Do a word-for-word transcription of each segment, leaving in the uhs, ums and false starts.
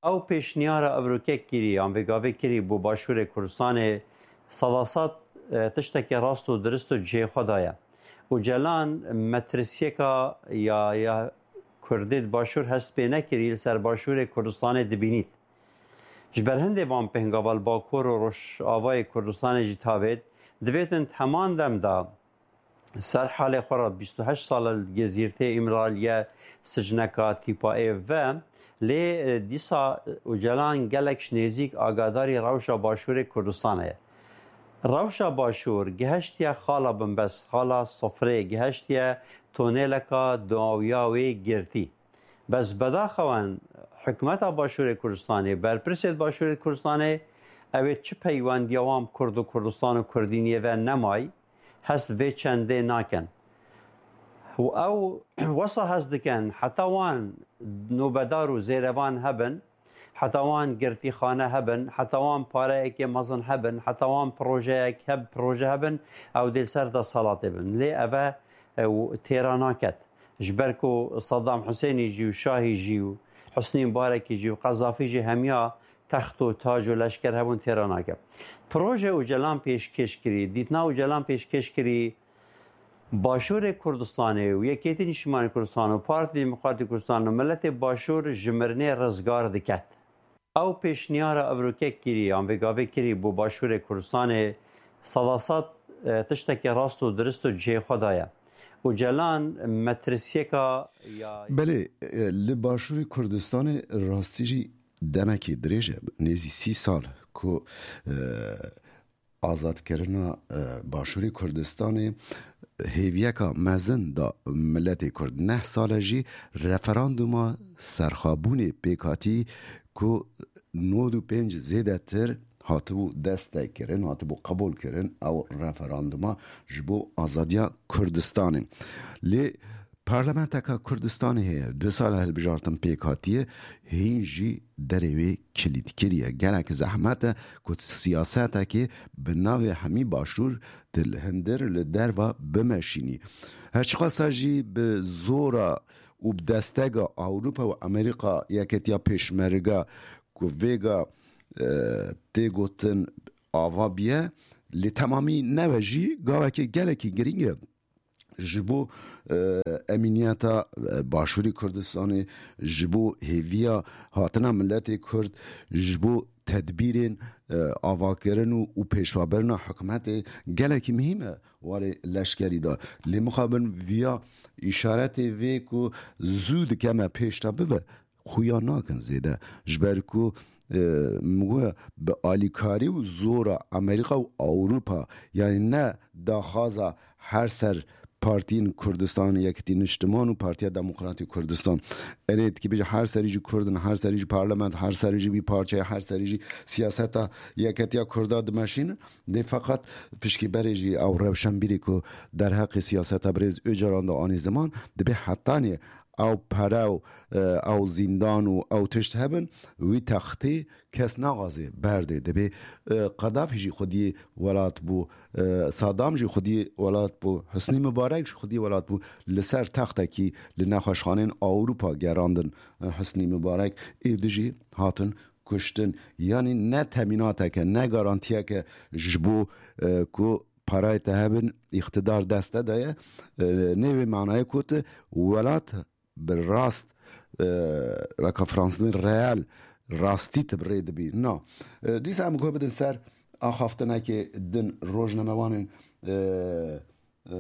Ew pêşniyara evrokek kirî, yan vê gavê kirî bo Başûrê Kurdistanê, sedased, e, tiştekî rast û dirist û cihê xwe daye. Ocalan metirsiyeka ya, ya Kurdê di Başûr hest pê nekirî, li ser Başûrê Kurdistanê dibînît. Ji ber hindê van pêngava li Bakur û Rojavayê Kurdistanê jî tavêt, divêtin di heman dem de ser halê xwe re bîst û heşt sal e li Gezîrtê Îmraliye sicneka tîpa ê ve, lê, e, dîsa Ocalan gelek ji nêzîk agadarî rewşa Başûrê Kurdistanê ye. Rewşa Başûr gihiştiye xala binbest, xala sifrê, gihiştiye tonêleka dawiya wê girtî. Bes bedaxewan hikûmeta Başûrê Kurdistanê, berpirsê Başûrê Kurdistanê, ew ê çi peywendiya wan bi Kurd û Kurdistan û Kurdîniyê ve nemay, hest vê çendê nakin. Û ew wesa hest dikin, heta wan nobedar û zêrevan hebin, heta wan girtîxane hebin, heta wan pareyekê mezin hebin, heta wan projeyek heb-, proje hebin, ew dê li ser desthilatê bin. Lê ev e, ew têra naket. Ji ber ku Saddam Husênî jî û Şahî jî û Husnî Mubarekî jî û Qezafî jî hemiya text û tac û leşker hebûn, têra nake. Proje Ocalan pêşkêş kirî, dîtina Ocalan pêşkêş kirî, Başûrê Kurdistanê û Yekêtî Niştimanî Kurdistan û Partî Demokratî Kurdistan û miletê Başûr ji mirinê rizgar diket. Ew pêşniyara evrokek kirî, yan vê gavê kirî bo Başûrê Kurdistanê, sedased, e, tiştekî rast û dirist û cihê xwe daye. Ocalan metirsiyeka ya Belê, e, li Başûrê Kurdistanê rastî jî demekî dirêj e, nêzî sî sal ku, e, azadkirina, e, Başûrê Kurdistanê hêviyeka mezin da miletê Kurd. Neh sal e jî referanduma serxwebûnê pêk hatî ku nod û pênc zêdetir hatibû destekkirin, hatibû qebûlkirin, ew referanduma ji bo azadiya Kurdistanê. Lê Parlamenteka Kurdistanê heye, du sal e hilbijartin pêk hatiye, hîn jî derê wê kilît kiriye. Gelek zehmet e ku siyasetekê bi navê hemî Başûr di li hundir li derva bimeşînî. Her çiqasa jî bi zora û bi destega Ewropa û Amerîka Yeketiya Pêşmerge ku vêga, e, tê gotin ava biye, lê temamî nebe jî gavekê gelekî girîng e. Ji bo, e, emîniyeta, e, Başûrê Kurdistanê, ji bo hêviya hatina miletê Kurd, ji bo tedbîrên, e, avakirin û, û pêşvabirina hikûmetê gelekî muhîm e warê leşkerî de. Lê mixabin viya îşaretê vê ku zû dike me pêş de bibe, xuya nakin zêde. Ji ber ku, e, min goya bi alîkarî û zora Amerîka û Ewropa, yanî ne daxwaza her ser partiyên Kurdistan, Yekitî Niştiman û Partiya Demokratîk Kurdistan. Erê, dikî bêje her serî jî Kurd in, her serî jî parlament, her serî jî vî parçeyê, her serî jî siyaseta yeketiya Kurda dimeşînin. Lê feqet pişkî berê jî ew rewşenbîrî ku derheqê siyaseta birêz Ocalan de anî ziman, dibê hetanî ew pere û, e, ew zîndan û ew tişt hebin, wî textê kes naxwaze berdê. Dibê, e, Qedafî jî xwediyê welat bû, e, Sadam jî xwediyê welat bû, Husnî Mubarek jî xwediyê welat bû. Li ser textekî li nexweşxanên Ewropa gerandin, e, Husnî Mubarek, êdî jî hatin kuştin. Yanî ne temînateke, ne garantiyeke ji bo, e, ku parayê te hebin, îqtidar dest te de ye. E, nê wê manayê ku tu welat bi rast, e, weka Fransizên reel, rastî tu bi rê dibî. Na. E, dîsa em guh bidin ser axaftinekê din, rojnamewanên, e, e,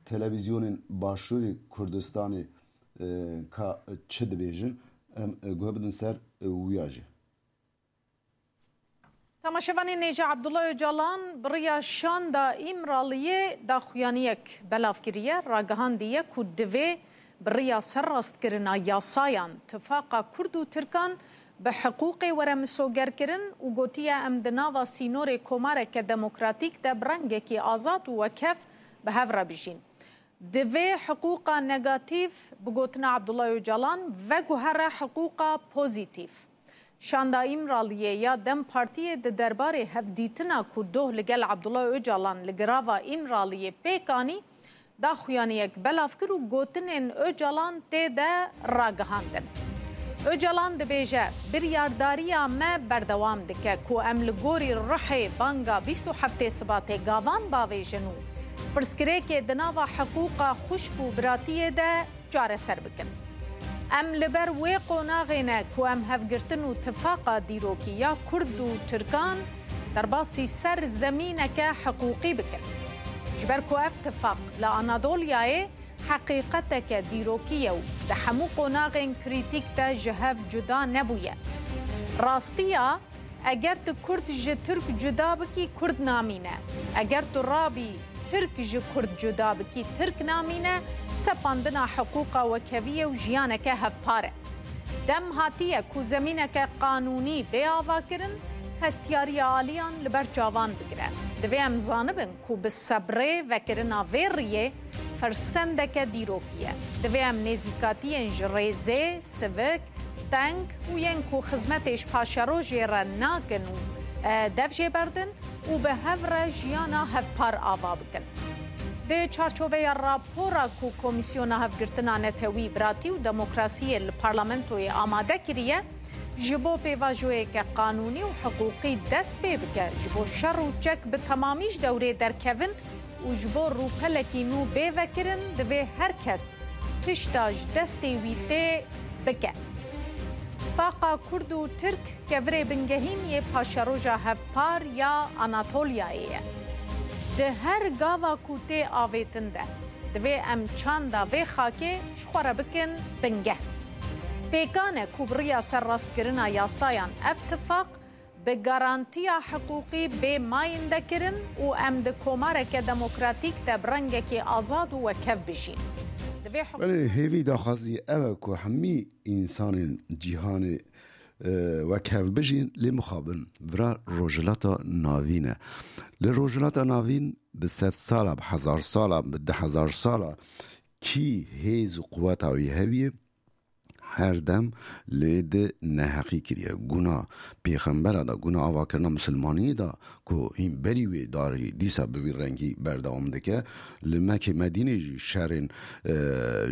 televîzyonên Başûrê Kurdistanê, e, ka çi dibêjin, em, e, guh bidin ser, e, wiya jî. Temaşevanên hêja, Abdullah Ocalan bi riya şanda Îmraliyê daxuyaniyek belav kiriye, ragihandiye ku divê bi riya serrastkirina yasayan tifaqa Kurd û Tirkan bi hiqûqê were misogerkirin û gotiye, em di nava sînorê komareke demokratîk de bi rengekî azad û wekhev bi hev re bijîn. Divê hiqûqa negatîf, bi gotina Abdullah Ocalan, veguhere hiqûqa pozîtîf. Şanda Îmraliyê ya DEM Partiyê di derbarê hevdîtina ku doh li gel Abdullah Ocalan li girava Îmraliyê pêk anî, daxuyaniyek belav kir û gotinên Ocalan tê de ragihandin. Ocalan dibêje, biryardariya me berdewam dike ku em li gorî ruhê banga bîst û heftê Sibatê gavan bavêjin û pirsgirêkê di nava hiqûqa xwişk û biratiyê de çareser bikin. Em li ber wê qonaxê ne ku em hevgirtin û tifaqa dîrokî ya Kurd û Tirkan derbasî ser zemîneke hiqûqî bikin. Ji ber ku ev tifaq li Anadolyayê heqîqeteke dîrokî ye û di hemû qonaxên krîtîk de ji hev cuda nebûye. Rastiya, eger tu Kurd ji Tirk cuda bikî, Kurd namîne. Eger tu rabî Tirk ji Kurd cuda bikî, Tirk namîne, sepandina hiqûqa wekeviyê û jiyaneke hevpar e. Dem hatiye ku zemîneke qanûnî bê avakirin, hestiyariya aliyan li ber çavan bigire. Divê em zanibin ku bi sebrê vekirina vê riyê firsendeke dîrokî ye. Divê em nêzîkatiyên ji rêzê, sivik, teng û yên ku xizmetê ji paşerojê re nakin û, e, dev jê berdin û bi hev re jiyana hevpar ava bikin. Di çarçoveya rapora ku Komîsyona Hevgirtina Netewî, Biratî û Demokrasiyê li Parlamentoyê amade kiriye, ji bo pêvajoyeke qanûnî û hiqûqî dest pê bike, ji bo şer û çek bi temamî ji dewrê derkevin û ji bo rûpelekî nû bê vekirin, divê her kes tişta ji destê wî tê bike. Tifaqa Kurd û Tirk kevirê bingehîn yê paşeroja hevpar ya Anatolyayê ye. Di her gava ku tê avêtin de, divê em çanda vê xakê ji xwe re bikin bingeh. Pêkan e ku bi riya serrastkirina yasayan ev tifaq bi garantiya hiqûqî bê mayînde kirin û em di komareke demokratîk de bi rengekî azad û wekev bijîn. Divê hikûmet Belê, hêvî daxwazî ew e ku hemî însanên cîhanê, e, wekev bijîn, lê mixabin vira Rojhilata Navîn e. Li Rojhilata Navîn bi sed sala, bi hezar sala, bi du hezar sala kî hêz û quweta wî hebiye, her dem lê di neheqî kiriye. Guna pêxembera da, guna avakirina misilmaniyê da ku hîn berî wê darî dîsa bi vî rengî berdewam dike. Li Mekê Medînê jî şerên, e,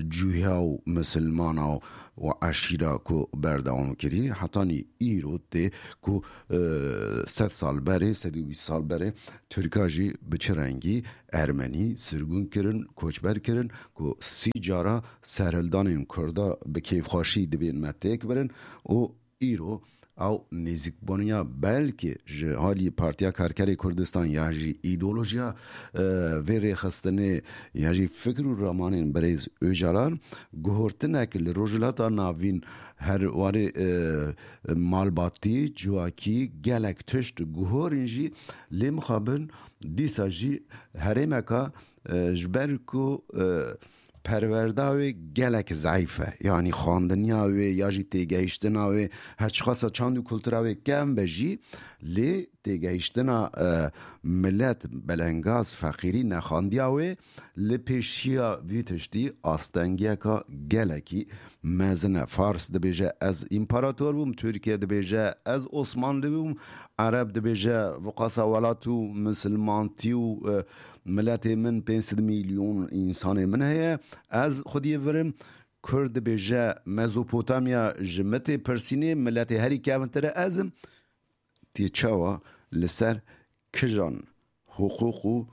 cuya û misilmana û eşîra ku berdewam kirî, hetanî îro tê ku, e, sed sal berê, sed û bîst sal berê Tirka jî bi çi rengî Ermenî sirgûn kirin, koçber kirin, ku sî cara serhildanên Kurda bi kêfxweşî dibên me têk birin û îro ew nêzîkbûniya belkî ji alî Partiya Karkerê Kurdistan ya jî îdeolojiya, e, vê rêxistinê ya jî fikir û ramanên birêz Ocalan guhortinek li Rojhilata Navîn her warê, e, malbatî, civakî gelek tişt guhorin jî lê mixabin dîsa jî herêmeka, e, ji ber ku, e, perwerda wê gelek zeîf e. Yanî xwendiniya wê ya jî têgehiştina wê, her çiqasa çand û kultura wê kevn be jî, lê têgehiştina, e, milet belengaz, feqîrî, nexandiya wê li pêşiya vî tiştî astengiyeka gelekî mezin e. Fars dibêje, "Ez împarator bûm." Tirkiye dibêje, "Ez Osmanlî bûm." Ereb dibêje, "Viqasa welat û misilmantî û, e, miletê min pênc sed milyon însanê min heye, ez xwediyê vir im." Kurd dibêje, "Mezopotamya ji min tê pirsînê, miletê herî kevintir e ez im." Tê çawa li ser kijan, hiqûq û,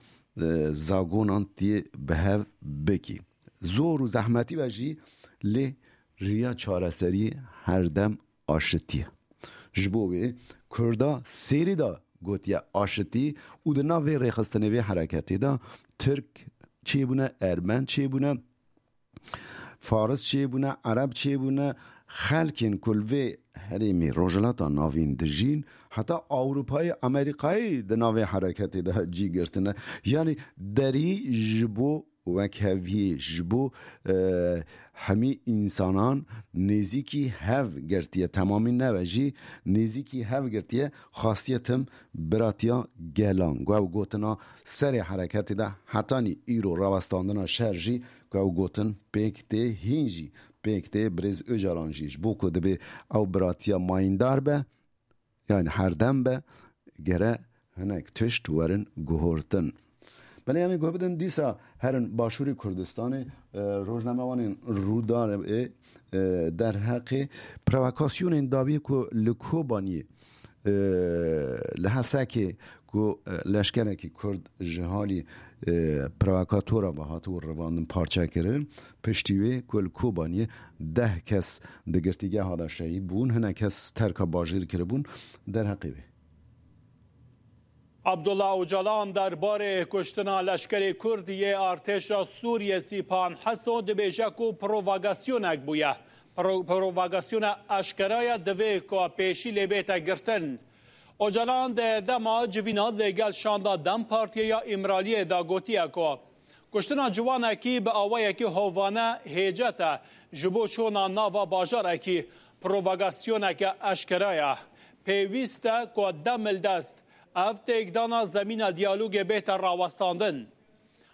e, zagonan tê bi hev bikî? Zor û zehmetî be jî, lê riya çareseriyê her dem aşitî ye. Ji bo wê Kurda serî de gotiye aşitî û di nav vê rêxistinê, vê hereketê de Tirk çêbûne, Ermen çêbûne, Faris çêbûne, Ereb çêbûne, xelkên ku li vê herêmê Rojhilata Navîn dijîn, heta Ewropayê, Amerîkayê di nav vê hereketê de cî girtine. Yanî derî ji bo wekheviyê, ji bo, e, hemî însanan nêzîkî hev girtiye, temamî nebe jî nêzîkî hev girtiye, xastiye tim biratiya gelan. Ku ew gotina serê hereketê de hetanî îro rawestandina şer jî ku ew gotin pêk tê, hîn jî pêk tê, birêz Ocalan jî ji bo ku dibê ew biratiya mayîndar be, yanî herdem be, gere hinek tişt werin guhortin. Belê em ê guh bidin dîsa herin Başûrê Kurdistanê, e, rojnamevanên Rûdarê, e, derheqê provokasyonên dabî ku li Kobaniyê, e, li Hesekê ku, e, leşkerekî Kurd ji halî, e, provokatora ve hatibû revandin parçekirin, piştî wê ku li Kobaniyê deh kes di girtîgeha de şehîd bûn, hinek kes terka bajêr kiribûn, derheqê wê. Abdullah Ocalan derbarê kuştina leşkerê Kurd yê artêşa Sûriyê Sîpan Heso dibêje ku provokasyoneke bûye. Pro-, provokasyona eşkera ye, divê ku pêşî lê bête girtin. Ocalan di dema civîna li gel şanda DEM Partiyê ya Îmraliyê de gotiye ku kuştina ciwanekî bi awayekî hovane hêcet e ji bo çûna nava bajarekî. Provokasyoneke eşkera ye. Pêwîst e ku demildest ev têkdana zemîna diyalogê bête rawestandin.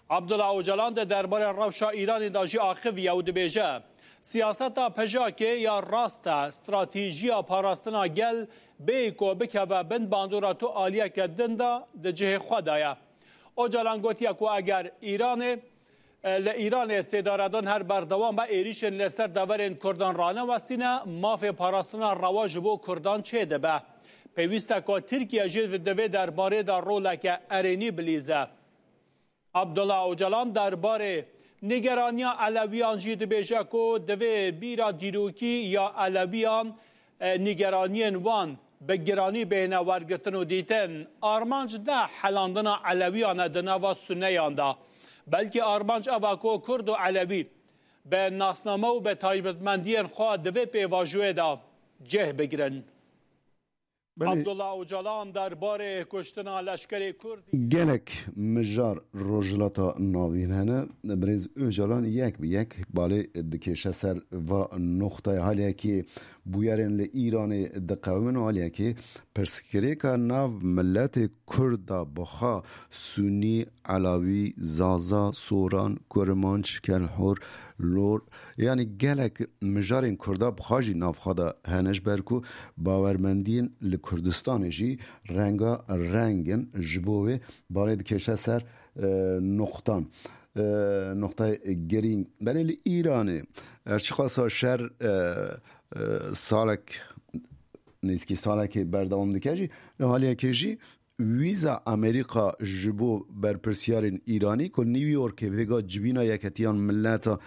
Abdullah Ocalan di derbarê rewşa Îranê de jî axiviye û dibêje, siyaseta PJAKê ya rast e, stratejiya parastina gel bê ku bikeve bin bandora tu aliyeke din de di cihê xwe de ye. Ocalan gotiye ku eger Îranê, e, li Îranê sêdaredan her berdewam be, êrîşên li ser deverên Kurdan ranewestîne, mafê parastina rewa ji bo Kurdan çêdibe. Pêwîst e ku Tirkiye jî di vê derbarê de roleke erênî bilîze. Abdullah Ocalan derbarê nîgeraniya Elewiyan jî dibêje ku divê bîra dîrokî ya Elewiyan, e, nîgeraniyên wan bi giranî bêhne wergirtin û dîtin. Armanc ne helandina Elewiyan e di nava Sunneyan de, belkî armanc ev e ku Kurd û Elewî bi nasname û bi taybetmendiyên xwe di vê pêvajoyê de cih bigirin. Belê. Abdullah Ocalan derbarê kuştina leşkerê Kurd. Gelek mijar Rojhilata Navîn hene. Birêz Ocalan yek bi yek balê dikêşe ser va noxtaya. Haliyekê bûyerên li Îranê diqewimin û haliyekê pirsgirêka nav miletê Kurd da bixa Sunî, Elawî, Zaza, Soran, Kurmanc, Kelhor, Lor, yanî gelek mijarên Kurda bi xwe jî nav xwe de hene, ji ber ku bawermendiyên li Kurdistanê jî renga reng in, ji bo wê balê dikêşe ser, e, noqtan. E, noqtayê girîng. Belê li Îranê, her çiqasa şer, e, e, salek, nêzîkî salekê berdewam dike jî, li haliyekê jî vîza Amerîka ji bo berpirsiyarên Îranî ku New Yorkê vêga civîna Yeketiyan Mileta